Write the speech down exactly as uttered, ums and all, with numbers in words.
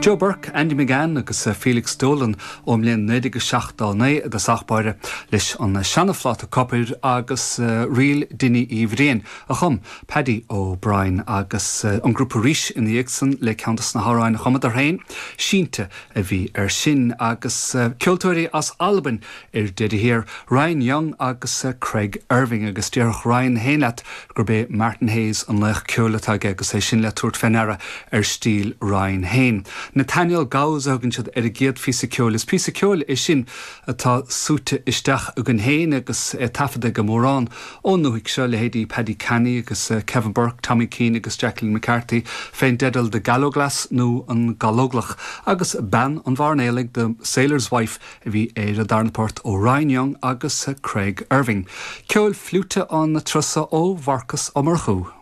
Joe Burke, Andy McGann agus eh, Felix Dolan ón mbliain naoi déag seachtó naoi i dtosach báire leis an seana-phláta copair agus uh, Ríl Dinny Uí Bhriain a chum Paddy O'Brien agus uh, an grúpa arís ina dhiaidh san le ceann de na hamhráin a chumadar féin sínte a bhí ar sin agus uh, ceoltóirí as Albain ar deireadh thiar Ryan Young agus uh, Craig Irving agus déarfadh Ryan féin leat gurb é Martin Hayes an laoch ceoil atá aige agus é sin le tabhairt faoi deara ar stíl Ryan féin. Nathaniel Gauss a thugann siad ar a gcéad phíosa ceoil is píosa ceoil é sin atá súite isteach againn féin agus é taifeadta go mórán ón ndúthaigh seo leithéidí Paddy Canny agus eh, Kevin Burke, Tommy Keane agus Jacqueline McCarthy fén dteideal The Gallowglass nó an Gallóglach agus bean an mhairnéalaigh The Sailor's Wife a bhí ar a darna port ó Ryan Young agus eh, Craig Irving. Ceol fliúite an turas seo ó Mharcas Ó Murchú.